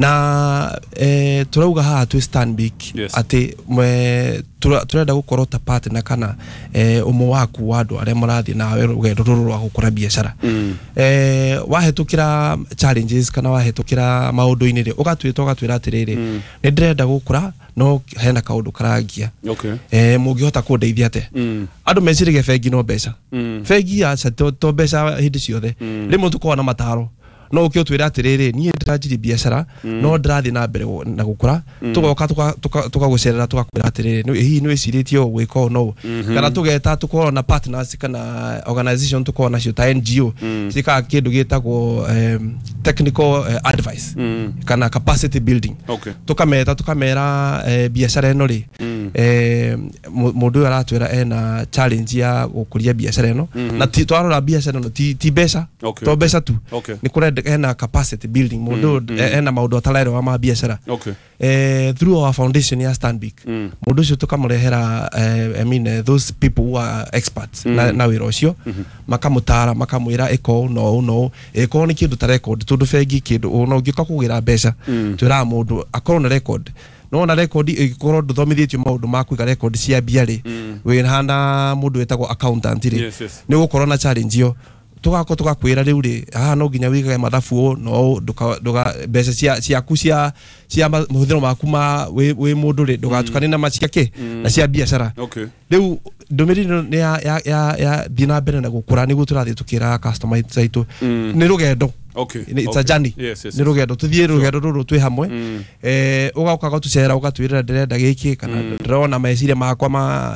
Na turauga haha twĩ Stanbic atĩ turenda gũkorwo ta partner kana ũmwe waku wa andũ arĩa marathiĩ nawe rũgendo rũrũ rwa gũkũra biacara. Wahĩtũkĩra challenges kana wahĩtũkĩra maũndũ-inĩ rĩ, ũgatwĩta ũgatwĩra atĩrĩrĩ, nĩ ndĩrenda gũkũra no hena kaũndũ karangia, mũngĩhota kũndeithia atĩa? Andũ meciragia bengi no mbeca. Bengi aca, to mbeca hĩndĩ ciothe. Rĩmwe tũkoragwo na mataro, no ũke ũtwĩre atĩrĩrĩ, niĩ ndĩranjirie biacara no ndĩrathiĩ na mbere na gũkũra. Tũgoka tũkagũcerera, tũgakwĩra atĩrĩrĩ, hihi nĩ wĩcirĩtie ũũ gwĩka ũũ no ũũ? Kana tũgeta, tũkorwo na partners kana organization tũkorwo nacio ta NGO ciĩkaga kĩndũ gĩtagwo technical advice kana capacity building. Tũkameta, tũkamera biacara ĩno rĩ, mũndũ ũyũ aratwĩra ena challenge ya gũkũria biacara ĩno, na ti twarora biacara ĩno ti mbeca, to mbeca tu. Nĩ kũrenda ena capacity building, mũndũ ũyũ ena maũndũ ataraerewa ma biacara. Through our foundation ya Stanbic, mũndũ ũcio tũkamũrehera I mean, those people who are experts na wĩra ũcio, makamũtara, makamwĩra ĩka ũũ na ũũ na ũũ, ĩkorwo nĩ kĩndũ ta record, tondũ bengi kĩndũ ona ũngĩũka kũgĩra mbeca, twĩraga mũndũ akorwo na record. No na record ĩngĩkorwo ndũthomithĩtio maũndũ ma kũiga record cia mbia rĩ, wĩ hana mũndũ wĩtagwo accountant rĩ, nĩ ũgũkorwo na challenge ĩyo. Tũgakorwo tũgakwĩra rĩu rĩ, haha no nginya wĩigage mathabu ũũ no ũũ, ndũka mbeca cia ciaku cia mahũthĩro maku ma wĩ mũndũ rĩ, ndũgatukane na macia kĩ na cia biacara. Rĩu ndũmĩrĩri ĩno nĩ ya thiĩ na mbere na gũkũra, nĩguo tũrathiĩ tũkĩraga customer aitũ nĩ rũgendo. It's a journey. Nĩ rũgendo, tũthiĩ rũgendo rũrũ twĩ hamwe. Ũgoka ũgatũcera, ũgatwĩrĩra ndĩrenda gĩkĩ kana ndĩrona meciria makwa ma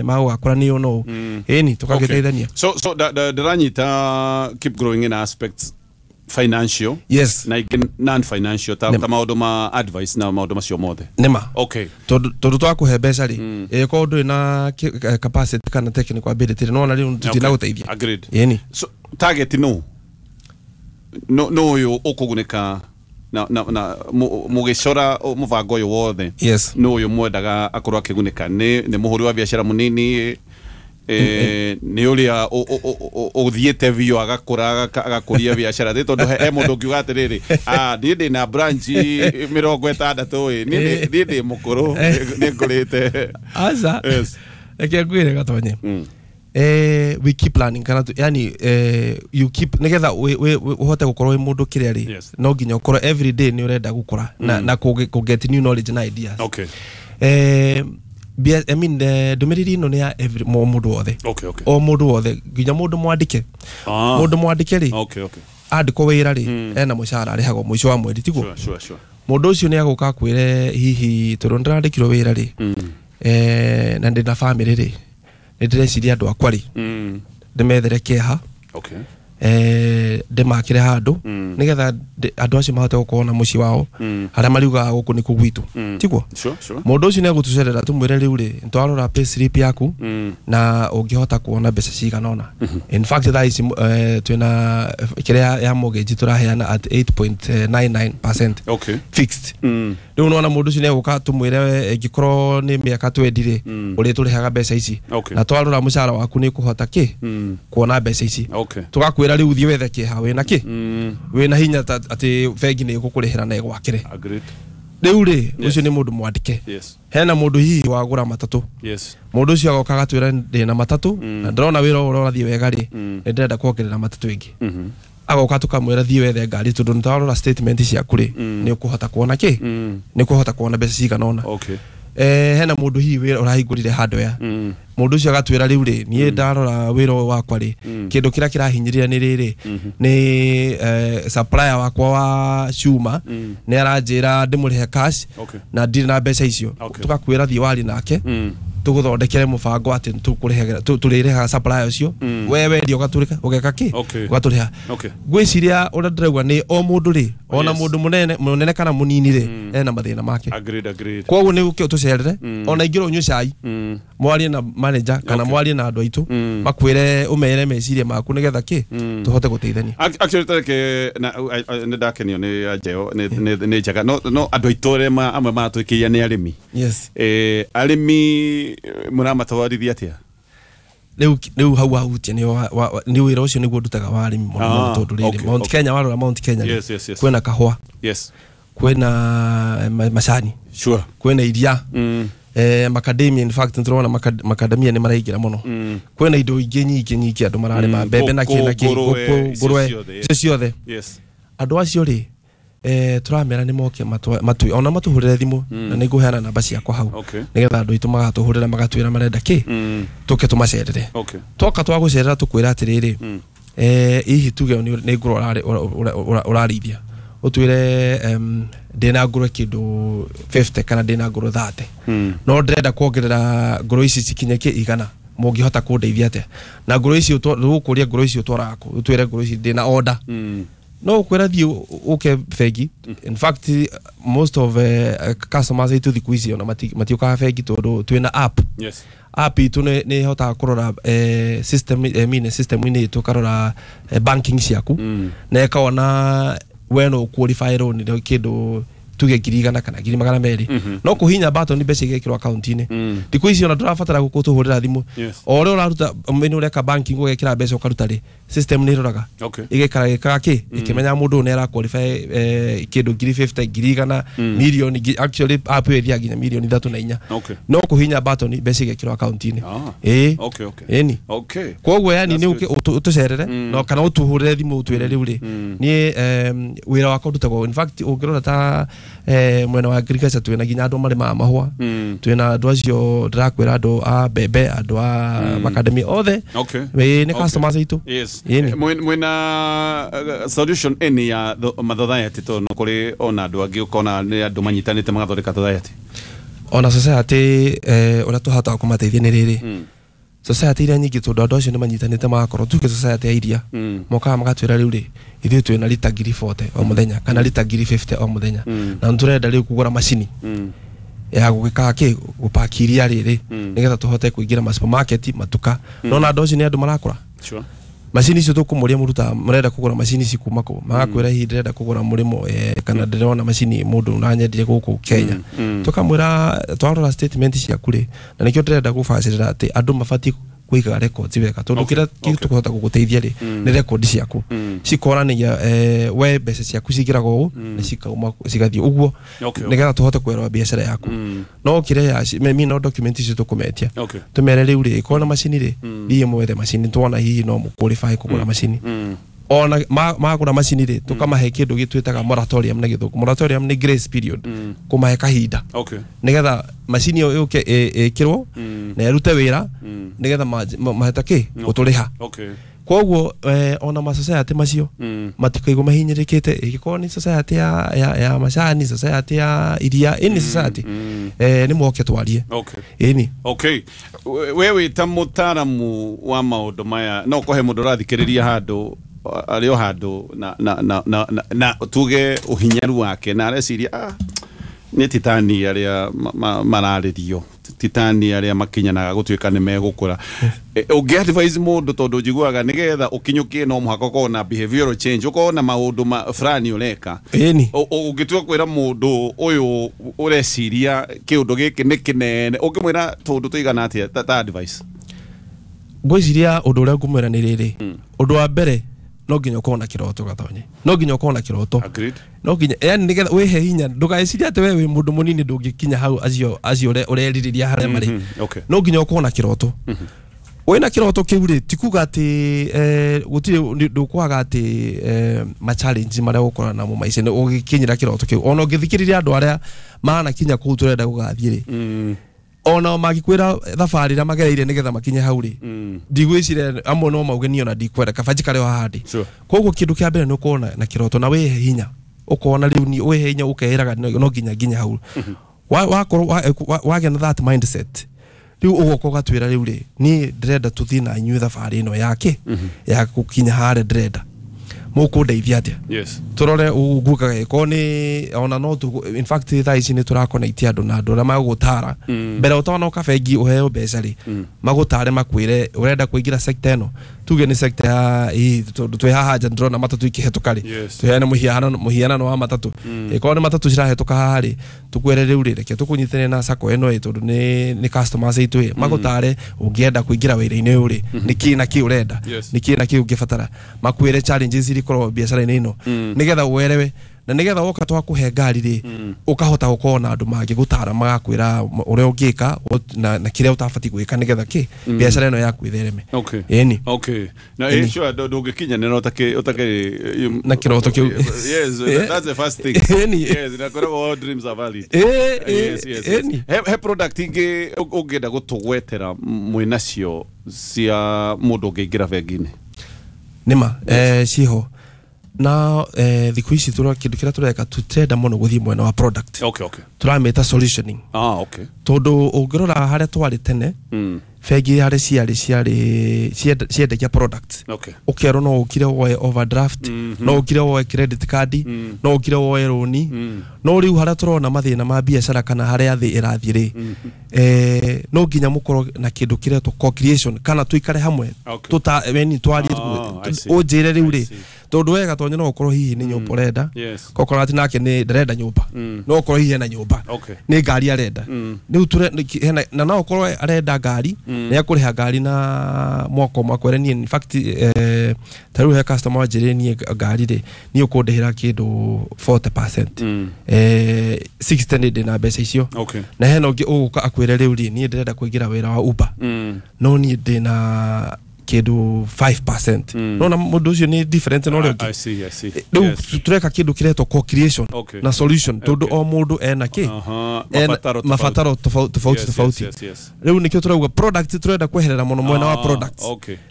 gũgakũra nĩ ũũ no ũũ. Ĩni tũgagĩteithania. So ndĩranyita keep growing in aspects financial na ingĩ non financial ta, ta maũndũ ma advice na maũndũ macio mothe. Nĩma. Tondũ twakũhe mbeca rĩ, ĩkorwo ndũrĩ na capacity kana technical ability rĩ, nĩwona rĩu tũtinagũteithia. Agreed. Ĩni. So target no ũyũ ũkũgunĩka na mũgĩcora mũbango ũyũ wothe, no ũyũ mwendaga akorwo akĩgunĩka? Nĩ mũhũri wa biacara mũnini, nĩ ũrĩa ũthiĩte biũ agakũra, agakũria biacara? Nĩ tondũ he mũndũ ũngiuga atĩrĩrĩ, "Ah, niĩ ndĩ na branch 60 ĩ, niĩ ndĩ mũkũrũ, nĩ ngũrĩte." Aca. Reke ngwĩre gatonye. We keep learning kana yani you keep nigetha ũhote gũkorwo wĩ mũndũ kĩrĩa rĩ, no nginya ũkorwo every day nĩ ũrenda gũkũra na kũ get new knowledge na ideas. I mean, ndũmĩrĩri ĩno nĩ ya every mũndũ wothe. O mũndũ wothe, nginya mũndũ mwandĩke. Mũndũ mwandĩke rĩ, andĩkwo wĩra rĩ, ena mũcara arĩhagwo mũico wa mweri, tiguo? Sure. Mũndũ ũcio nĩ agũka akwĩre, hihi tondũ nĩndĩrandĩkirwo wĩra rĩ, na ndĩna family rĩ, nĩ ndĩreciria andũ akwa rĩ, ndĩmethere kĩeha, ndĩmakĩre handũ nĩgetha andũ acio mahote gũkorwo na mũciĩ wao harĩa mariugaga gũkũ nĩkuo gwitũ, tiguo? Sure. Mũndũ ũcio nĩ egũtũcerera, tũmwĩre rĩu rĩ, twarora pay slip yaku na ũngĩhota kuona mbeca cigana ũna. In fact, thaa ici twĩna kĩrĩa ya mortgage tũraheana at 8.99% fixed. Rĩu nona mũndũ ũcio nĩ egũka tũmwĩre ĩngĩkorwo nĩ mĩaka 20 rĩ, ũrĩ tũrĩhaga mbeca ici, na twarora mũcara waku nĩ ũkũhota kĩ kuona mbeca ici. Tũgakwĩra rĩu thiĩ wethe kĩha wĩna kĩ wĩna hinya atĩ bengi nĩ ĩgũkũrĩhĩra na ĩgwakĩre. Rĩu rĩ, ũcio nĩ mũndũ mwandĩke. Hena mũndũ hihi wagũra matatũ. Mũndũ ũcio agoka agatwĩra ndĩna matatũ na ndĩrona wĩra ũyũ ũrathiĩ wega rĩ, nĩ ndĩrenda kuongerera matatũ ĩngĩ. Agoka tũkamwĩra thiĩ wethe ngari, tondũ nĩ twarora statement ciaku rĩ, nĩ ũkũhota kuona kĩ, nĩ ũkũhota kuona mbeca cigana ũna. Hena mũndũ hihi wĩra ũrahingũrire hardware. Mũndũ ũcio agatwĩra rĩu rĩ, niĩ ndarora wĩra ũyũ wakwa rĩ, kĩndũ kĩrĩa kĩrahinyĩrĩria nĩ rĩrĩ, nĩ supplier wakwa wa cuma nĩ aranjĩra ndĩmũrĩhe cash na ndirĩ na mbeca icio. Tũgakwĩra thiĩ warie nake, tũgũthondekere mũbango atĩ tũkũrĩhagĩra tũrĩrĩhaga supplier ũcio, we wendia ũgatũrĩka ũgeka kĩ, ũgatũrĩha. Ngwĩciria ũrĩa ndĩrauga nĩ o mũndũ rĩ, ona mũndũ mũnene mũnene kana mũnini rĩ, ena mathĩna make. Agreed. Koguo nĩ ũke ũtũcerere, ona ingĩrwo ũnyue cai, mwarie na manager kana mwarie na andũ aitũ, makwĩre, ũmere meciria maku nĩgetha kĩ tũhote gũteithania. Actually, tareke na nĩ ndakenio nĩ anjeo, nĩ njega, no andũ aitũ arĩa amwe maratwĩkĩria nĩ arĩmi. Arĩmi mũramatwarithia atĩa? Rĩu hau wahutia nĩ nĩ wĩra ũcio nĩguo ndutaga wa arĩmi mũno mũno, tondũ rĩrĩ, Mount Kenya, warora Mount Kenya rĩ, kwĩna kahũa, Kwĩna macani. Sure. Kwĩna iria. Macadamia, in fact nĩtũrona macadamia nĩ maraingĩra mũno. Kwĩna indo ingĩ nyingĩ nyingĩ andũ mararĩma, mbembe na kĩ na kĩ, ngũrwe, ngũrwe, icio icio ciothe. Yes. Andũ acio rĩ, tũramera nĩ moke matũ ona matũhũrĩre thimũ, na nĩ ngũheana namba ciakwa hau, nĩgetha andũ aitũ magatũhũrĩra magatwĩra marenda kĩ, tũke tũmacerere. Twoka twagũcerera tũkwĩra atĩrĩrĩ, hihi tuge nĩ ngũrwe ũrarĩithia, ũtwĩre ndĩna ngũrwe kĩndũ 50 kana ndĩna ngũrwe 30, no ndĩrenda kuongerera ngũrwe ici cikinye kĩ 100, mũngĩhota kũndeithia atĩa? Na ngũrwe ici tũgũkũria ngũrwe ici ũtwaraga kũ? Ũtwĩre ngũrwe ici ndĩna order. No ũkwĩra thiĩ ũke bengi. In fact, most of customers aitũ thikũ ici ona matiũkaga bengi tondũ twĩna app. Yes. App itũ nĩ ĩhotaga kũrora system, mine system-inĩ itũ ĩkarora banking ciaku, na ĩkona we no qualify loan nĩ kĩndũ tuge 100,000 kana 200,000, no kũhinya button mbeca igekĩrwo account-inĩ. Thikũ ici ona ndũrabatara gũkũtũhũrĩra thimũ. O ũrĩa ũraruta mene ũreka banking ũgekĩra mbeca ũkaruta rĩ, system nĩ ĩroraga, ĩgekara gĩkaga kĩ, ĩkĩmenya mũndũ ũyũ nĩ ara qualify kĩndũ 50,000, 100,000, mirioni, actually app ĩyo ĩthiaga nginya mirioni 3 na 4. No kũhinya button mbeca igekĩrwo account-inĩ. Ĩĩ. Okay. Ĩni. Koguo yani That's nĩ ũke good. ũtũcerere, no kana ũtũhũrĩre thimũ ũtwĩre rĩu rĩ, niĩ wĩra wakwa ndutagwo. In fact, ũngĩrora ta mwena wa agriculture twĩna nginya andũ marĩmaga mahũa, twĩna andũ acio ndĩrakwĩra, andũ a mbembe, andũ a macadamia othe. Ĩĩ, nĩ customers aitũ. Yes. Ĩni. Mwĩna solution any ya mathothayati, tondũ no kũrĩ ona andũ angĩ ũkona nĩ andũ manyitanĩte magathondeka society? Ona society, ũrĩa tũhotaga kũmateithia nĩ rĩrĩ, society iria nyingĩ, tondũ andũ acio nĩ manyitanĩte magakorwo, tuge society ya iria, mokaga magatwĩra rĩu rĩ, ithuĩ twĩna rita 40,000 o mũthenya kana rita 50,000 o mũthenya, na nĩtũrenda rĩu kũgũra macini ya gũgĩkaga kĩ, gũpaki iria rĩrĩ, nĩgetha tũhote kũingĩra ma supermarket, matuka. Nona andũ acio nĩ andũ marakũra. Macini icio tũkũmũria, mũrutaga mũrenda kũgũra macini ici kuma kũ? Magakwĩra hihi ndĩrenda kũgũra mũrĩmo, kana ndĩrona macini mũndũ ũranyendire gũkũ Kenya. Tũkamwĩra twarora statement ciaku rĩ, na nĩkĩo ndĩrenda gũbacĩrĩra atĩ andũ mabatiĩ kũigaga records wega, tondũ kĩrĩa tũkũhota gũgũteithia rĩ, nĩ record ciaku cikonanagia we mbeca ciaku cingĩraga ũũ na cikauma cigathiĩ ũguo, nĩgetha tũhote kwerwa biacara yaku. No kĩrĩa ya mi no document icio tũkũmetia, tũmere rĩu rĩ, ĩkorwo na macini rĩ, thiĩ mwethe macini, tuona hihi no mũqualify kũgũra macini. Ona magũra macini rĩ, tũkamahe kĩndũ gĩtwĩtaga moratorium na gĩthũngũ. Moratorium nĩ grace period, kũmahe kahinda nĩgetha macini ĩyo yũke ĩkĩrwo na ĩrute wĩra, nĩgetha mahota kĩ gũtũrĩha. Koguo ona ma society macio matikaigwo mahinyĩrĩkĩte, ĩngĩkorwo nĩ society ya macani, society ya iria, any society, nĩ moke twarie. Ĩni. Okay. We wĩ ta mũtaaramu wa maũndũ maya, no kũhe mũndũ ũrathikĩrĩria handũ arĩ o handũ na tuge ũhinyaru wake na areciria, nĩ titani arĩa mararĩrio, titani arĩa makinyanaga gũtuĩka nĩ megũkũra. Ũngĩ advise mũndũ, tondũ njiguaga nĩgetha ũkinyũkie no mũhaka ũkorwo na behavioral change, ũkorwo na maũndũ ma fulani ũreka. Ĩni. Ũngĩtua kwĩra mũndũ ũyũ ũreciria kĩũndũ gĩkĩ nĩ kĩnene, ũngĩmwĩra tũndũ tũigana atĩa ta advice? Ngwĩciria ũndũ ũrĩa ngũmwĩra nĩ rĩrĩ, ũndũ wa mbere no nginya ũkorwo na kĩroto, gatonye, no nginya ũkorwo na kĩroto. No nginya yani nĩgetha wĩhe hinya, ndũgecirie atĩ we wĩ mũndũ mũnini ndũngĩkinya hau acio ũrerirĩria harĩa marĩ. No nginya ũkorwo na kĩroto. Wĩna kĩroto kĩu rĩ, ti kuga atĩ gũtirĩ ndũkwaga atĩ ma challenge marĩa ũgũkorana namo maica-inĩ ũgĩkinyĩra kĩroto kĩu. Ona ũngĩthikĩrĩria andũ arĩa manakinya kũu tũrenda gũgathiĩ rĩ, ona mangĩkwĩra thabarĩ ĩrĩa magereire nĩgetha makinye hau rĩ, ndigwĩciria amwe no mauge niĩ ona ndikwenda, kaba njikare o haha ndĩ. Koguo kĩndũ kĩa mbere nĩ ũkorwo na kĩroto na wĩhe hinya, ũkona rĩu ni wĩhe hinya ũkeĩraga no nginya nginya hau. Wakorwo wagĩa na that mindset, rĩu ũgoka ũgatwĩra rĩu rĩ, niĩ ndĩrenda tũthiĩ na inyuĩ thabarĩ ĩno yake ya gũkinya harĩa ndĩrenda, mũkũndeithia atĩa? Tũrore ũgukaga ĩkorwo nĩ ona no tu, in fact thaa ici nĩ tũrakonekti andũ na andũ arĩa magũgũtara mbere ũtanoka bengi ũheo mbeca rĩ, magũtare makwĩre ũrenda kũingĩra sector ĩno, tuge nĩ sector ya ĩ, tondũ twĩ haha nja ndĩrona matatũ ikĩhetũka rĩ, tũheane mũhianano wa matatũ, ĩkorwo nĩ matatũ cirahĩtũka haha rĩ, tũkwĩre rĩu rĩ, reke tũkũnyitane na sacco ĩno ĩ, tondũ nĩ customers aitũ ĩ, magũtare ũngĩenda kũingĩra wĩra-inĩ ũyũ rĩ, nĩ kĩ na kĩ ũrenda, nĩ kĩ na kĩ ũngĩbatara, makwĩre challenges iria ikoragwo biacara-inĩ ĩno, nĩgetha ũerewe. Na nĩgetha woka twakũhe ngari rĩ, ũkahota gũkorwo na andũ mangĩgũtara, magakwĩra ũrĩa ũngĩka na kĩrĩa ũtabatiĩ gwĩka nĩgetha kĩ biacara ĩno yaku ĩthereme. Ĩni. Okay. Na ĩ sure ndũngĩkinyanĩra ũtakĩrĩ na kĩroto kĩu. Yes, that's the first thing. Ĩni. Yes, na koragwo all dreams are valid. Yes, yes. He product ingĩ ũngĩenda gũtũgwetera mwĩnacio cia mũndũ ũngĩingĩra bengi-inĩ? Nĩma, ciho. Na thikũ ici kĩndũ kĩrĩa tũreka, tũtirenda mũno gũthiĩ mwena wa product. Tũramĩta solutioning. Ah, okay. Tondũ ũngĩrora harĩa twarĩ tene, bengi harĩ ciarĩ ciendagia product. Ũkerwo no ũkire woe overdraft, no ũkire woe credit card, no ũkire woe rũni. No rĩu harĩa tũrona mathĩna ma biacara kana harĩa thĩ ĩrathiĩ rĩ, no nginya mũkorwo na kĩndũ kĩretwo co-creation, kana tũikare hamwe, tuta weni twarie, Ah, I see. ũnjĩre rĩu rĩ, I see. tondũ wega Gatonye no ũkorwo hihi nĩ nyũmba ũrenda, kokorwo atĩ nake nĩ ndarenda nyũmba, no ũkorwo hihi ena nyũmba, nĩ ngari arenda. Rĩu na no ũkorwo arenda ngari, nĩ akũrĩha ngari na mwaka ũmwe, akwĩre niĩ in fact, ta rĩu he customer wanjĩrire, niĩ ngari rĩ, niĩ ũkũndĩhĩra kĩndũ 40%, 60 nĩ ndĩna mbeca icio. Na hena ũngĩ ũgũka akwĩre, rĩu rĩ, niĩ ndĩrenda kũingĩra wĩra wa Uber, no niĩ ndĩna kĩndũ 5%. No na mũndũ ũcio nĩ different na ũrĩa ũngĩ. I see, I see. Rĩu tũreka kĩndũ kĩretwo co-creation na solution, tondũ o mũndũ ena kĩ, Mabataro tofauti. Mabataro tofauti tofauti. Rĩu nĩkĩo tũrauga product, tũrenda kweherera mũno mwena wa product.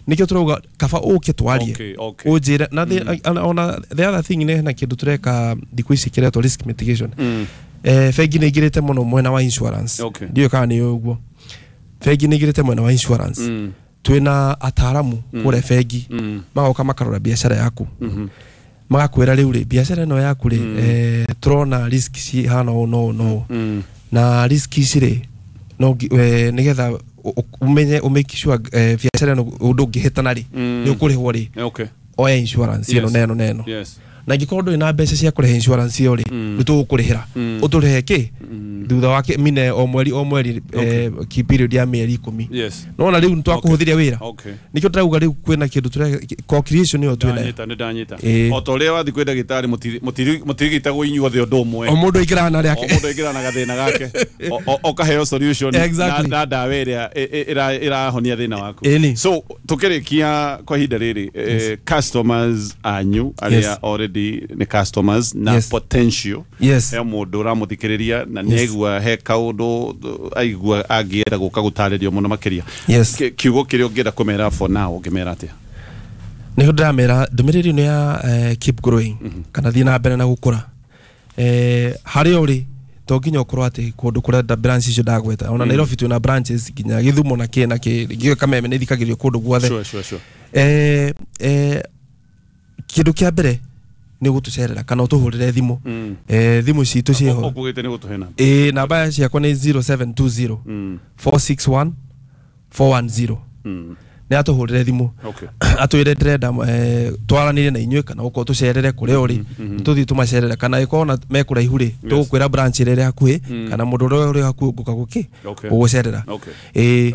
Nĩkĩo tũrauga kaba ũke twarie, ũnjĩre na ona the other thing, nĩ hena kĩndũ tũreka thikũ ici kĩretwo risk mitigation. Bengi nĩ ingĩrĩte mũno mwena wa insurance. Ndiũĩ kana nĩ ũguo, bengi nĩ ingĩrĩte mwena wa insurance. Twĩna ataaramu kũrĩa bengi, magoka makarora biacara yaku, magakwĩra, rĩu rĩ, biacara ĩno yaku rĩ, tũrona risk cihana ũũ no ũũ no ũũ, na risk ici rĩ, no nĩgetha ũmenye, ũmake sure biacara ĩno ũndũ ũngĩhĩtana rĩ, nĩ ũkũrĩhwo rĩ, oya insurance ĩno na ĩno na ĩno. Na ingĩkorwo ndũrĩ na mbeca cia kũrĩha insurance ĩyo rĩ, nĩ tũgũkũrĩhĩra, ũtũrĩhe kĩ thutha wa mine o mweri o mweri, ki period ya mĩeri 10. Nona rĩu nĩ twakũhũthĩria wĩra. Nĩkĩo ndĩrauga rĩu kwĩna kĩndũ co-creation ĩyo twĩnayo. Ndanyita, nĩ ndanyita. Ĩĩ. O ta ũrĩa wathiĩ kwĩ ndagĩtarĩ, mũtirigitagwo inyuothe ũndũ ũmwe. O mũndũ aingĩraga na O rĩake. Mũndũ aingĩra na gathĩna gake. Ũkaheo solution na ndawa ĩrĩa ĩrahonia thĩna waku. Ĩni. So tukĩrĩkia kwa ihinda rĩrĩ, customers anyu arĩa already nĩ customers na potential, he mũndũ ũramũthikĩrĩria na nĩ aigua he kaũndũ aigua angĩenda gũka gũtarĩrio mũno makĩria, kiugo kĩrĩa ũngĩenda kũmera for now, ũngĩmera atĩa? Nĩho ndĩramera ndũmĩrĩri ĩno ya keep growing, kana thiĩ na mbere na gũkũra. Harĩa ũrĩ, to nginya ũkorwo atĩ kũndũ kũrĩa branch icio ndagweta, ona Nairobi twĩna branches, nginya Gĩthumo na kĩ na kĩ, ngĩũĩ Kameme nĩ ithikagĩrio kũndũ guothe. Sure, sure, sure. Kĩndũ kĩa mbere nĩ gũtũcerera kana ũtũhũrĩre thimũ. Thimũ citũ ciĩho. Ũkugĩte nĩ gũtũhe namba. Ĩĩ, namba ciakwa nĩ 0720 461 410. Nĩ atũhũrĩre thimũ, atwĩre ndĩrenda twaranĩrie na inyuĩ, kana ũkorwo tũcerere kũrĩa ũrĩ, tũthiĩ tũmacerere, kana ĩkorwo na me kũraihu rĩ, tũgũkwĩra branch ĩrĩa ĩrĩ hakuhĩ, kana mũndũ ũrĩa ũrĩ hakuhĩ ũngũka gũkĩ gũgũcerera. Ĩĩ.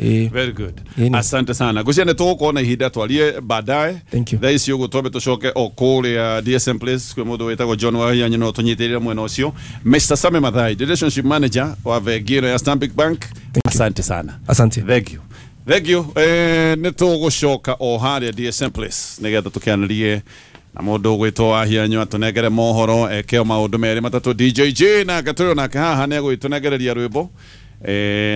Ĩĩ. Very good. Ĩni. Asante sana. Ngwĩciria nĩ tũgũkorwo na ihinda twarie baadaye. Thank you. Thaa ici ũguo twambe tũcoke o kũrĩa DSM Place kwĩ mũndũ wĩtagwo John Wahianyũ, no tũnyitĩrĩre mwena ũcio. Mr. Sami Mathai, relationship manager wa bengi ĩno ya Stanbic Bank. Asante sana. Asante. Thank you. Thank you. Nĩ tũgũcoka o harĩa DSM Place nĩgetha tũkĩanĩrie na mũndũ ũgwĩtwo Wahianyũ, atũnengere mohoro, eke o maũndũ merĩ matatũ. DJ J nake tũrĩ nake haha nĩ egũgĩtũnengereria rwĩmbo.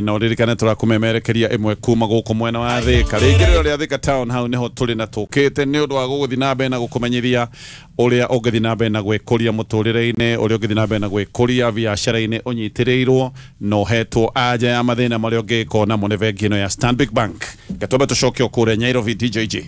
Na ũririkane tũrakũmemerekeria ĩmwe kuma gũkũ mwena wa Thĩka, rĩingĩrĩro rĩa Thĩka town, hau nĩho tũrĩ na tũkĩte nĩ ũndũ wa gũgũthiĩ na mbere na gũkũmenyithia ũrĩa ũngĩthiĩ na mbere na gwĩkũria mũtũrĩre-inĩ, ũrĩa ũngĩthiĩ na mbere na gwĩkũria biacara-inĩ, ũnyitĩrĩirwo na ũhetwo anja ya mathĩna marĩa ũngĩkorwo namo nĩ bengi ĩno ya Stanbic Bank. Gatwambe tũcoke o kũrĩa Nairobi. DJ J.